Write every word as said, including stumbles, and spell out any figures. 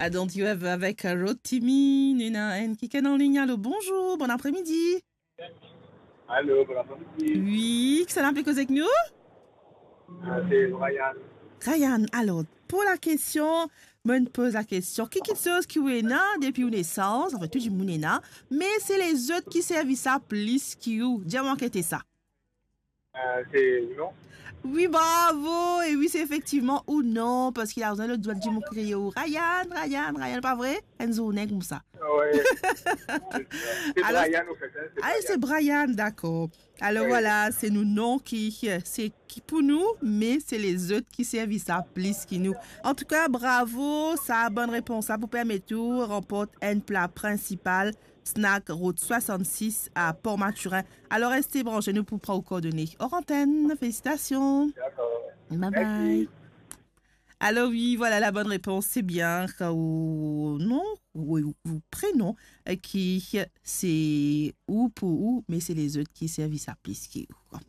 I Don't You Ever avek Rotimi. Nou ena enn kikenn an ligne. Alo, bonzour, bon apremidi. Alo, bon apremidi. Wi, kisannla pe koz ek nou? Ah, se Ryan. Ryan, alor, pou la kestion, mo poz la kestion, ki kiksoz ki ou ena depi ou nesans, anfin, tou dimoun ena, me se lezot ki servi sa plis ki ou? Dir mwa ki ete sa. Euh, c'est non. Wi, bravo! E wi, se efektivman ou non, parski la, ou ena lot dimoun ki kriye ou, Ryan, Ryan, Ryan, pa vre? Enn zourne koumsa. Ouais. C'est Brian, au fait, hein, c'est Brian. Ah, c'est Brian, dakor. Alor, ouais, vwala, se nou non ki, se ki pou nou, me se lezot ki servi sa plis ki nou. Antouka, bravo, sa bonn repons la pou permet ou ranport enn pla prinsipal Snack Route swasannsis a Port Mathurin. Alor, reste branche, nou pou pran ou kordone or antenn. Felisitasion. Dakor. Bye bye. Mersi. Alor wi, vwala la bonn repons, se bien, kan ou non, ou, ou prenon, eh, ki se ou pou ou, me se lezot ki servi sa plis ki ou.